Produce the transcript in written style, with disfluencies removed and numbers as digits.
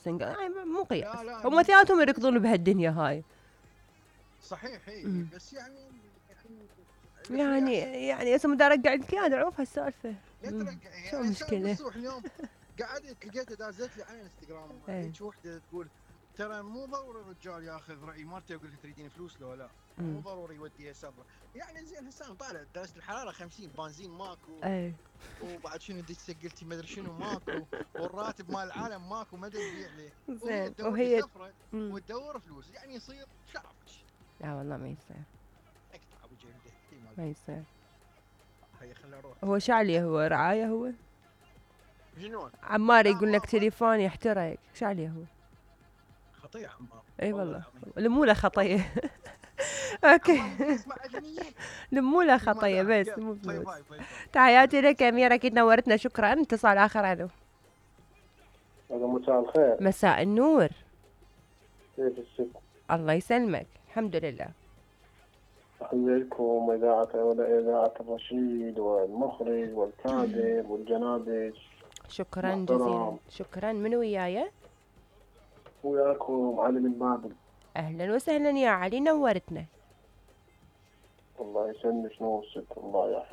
وسنجل، يعني مو قياس. لا هم اثنيناتهم يركضون بهالدنيا هاي. صحيح اي، بس يعني هسه مدى ارجع لك اياها اعوف هالسالفه. لا ترجع شو يعني. المشكله؟ بالصبح اليوم قعدت لقيتها دازت لي على الانستغرام هيك وحده تقول ترى مو ضروري الرجال ياخذ راي مرته يقول لها تريدين فلوس لو لا، مو ضروري يوديها سفره. يعني زين هسه انا طالع درجه الحراره 50، بنزين ماكو، وبعد شنو دش سجلتي ما ادري شنو ماكو، والراتب مال العالم ماكو ما تبيع له، وهي تدور لي سفره وتدور فلوس، يعني يصير شعبش. لا والله ما يصير، اقطع ابو جلده ما يصير. هيا خلينا نروح. هو شعلي، هو رعايه هو جنون عمار يقول لك تليفون يحترق، شعلي هو خطيه عمار. اي والله لموله خطيه. اوكي لموله خطيه بس مو فلوس. تحياتي لك يا اميره، اكيد نورتنا، شكرا. اتصال اخر. الو. مساء الخير. مساء النور. كيف الست؟ الله يسلمك، الحمد لله. تحية لكم إذاعة الرشيد والمخرج والكاتب والجنابج. شكرا جزيلا. شكرا. من وياي؟ وياكم علي من بابل. اهلا وسهلا يا علي، نورتنا. الله يسلمك. نور الست، الله يحفظك.